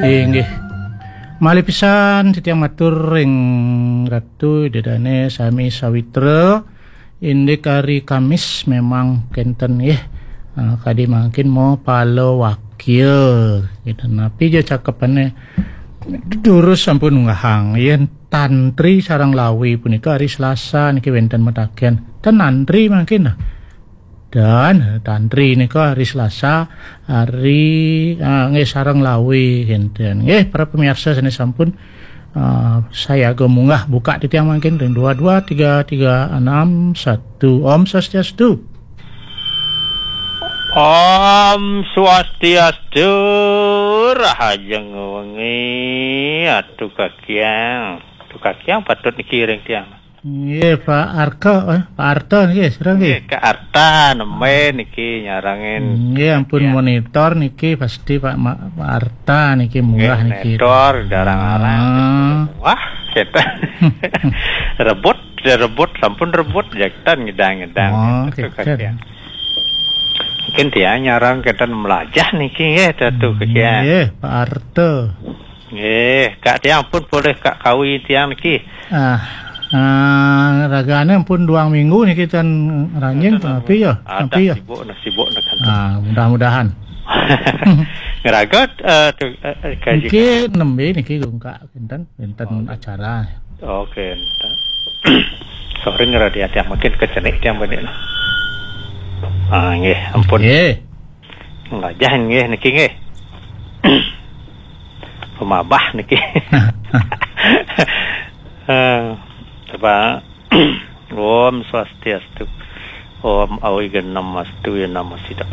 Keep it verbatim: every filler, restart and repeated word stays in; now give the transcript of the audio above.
Inggih. Malih pisan titiang matur ring Ratu Ida Dane sami sawitra. Indik hari Kamis memang kenten nggih. Ah, kadi mangkin mau pala wakya gitu. Napi ja cakepane durus sampun unggahang. Yen tantri sareng lawi punika hari Selasa niki wenten mataken. Ten antri mangkin nah. Dan tantri nika hari Selasa, hari, ah, nggih, sareng lawi kenten. Nggih, para pemirsa sane sampun, ah, sayaga munggah buka titiang mangkin ring dua dua tiga tiga enam satu. Om Swastiastu. Om Swastiastu, rahajeng wengi, Atu Kakiang. Atu Kakiang patut niki ring tiang. Nggih, Pak Arka, eh, Pak Arta nggih, sira nggih. Nggih, Kak Arta nembe niki nyarengin. Nggih, ampun monitor niki pasti Pak Ma-, Pak Arta niki munggah niki. Monitor darang-arang. Ah. Wah, kita rebut, dia rebut, sampun rebut, jaktan ngedang-ngedang. Oh, gitu, gitu. Kakiang. Mungkin dia nyarang kita melajah niki nggih, Datu Kakiang. Nggih, Pak Arta. Nggih, Kak tiang pun boleh Kak kawi tiang niki. Ah, ah, ragane pun duang minggu niki ten ranjing, ten tapi ya, ada tapi ya. Sibuk, nah, sibuk, nah, kan. Ah, mudah-mudahan. Ngeraga, eh, tu, eh, eh, kaji. Niki nembe niki lungkak kinten, kinten acara. Oke, enten. Sorry, ngerti tiang mungkin kecenik tiang benik, nah. Ah, nggih, ampun. Nggih. Ngajah nggih niki nggih. Pemabah niki. Eh, coba. Om Swastiastu. Om Awighnamastu ya namo sidam.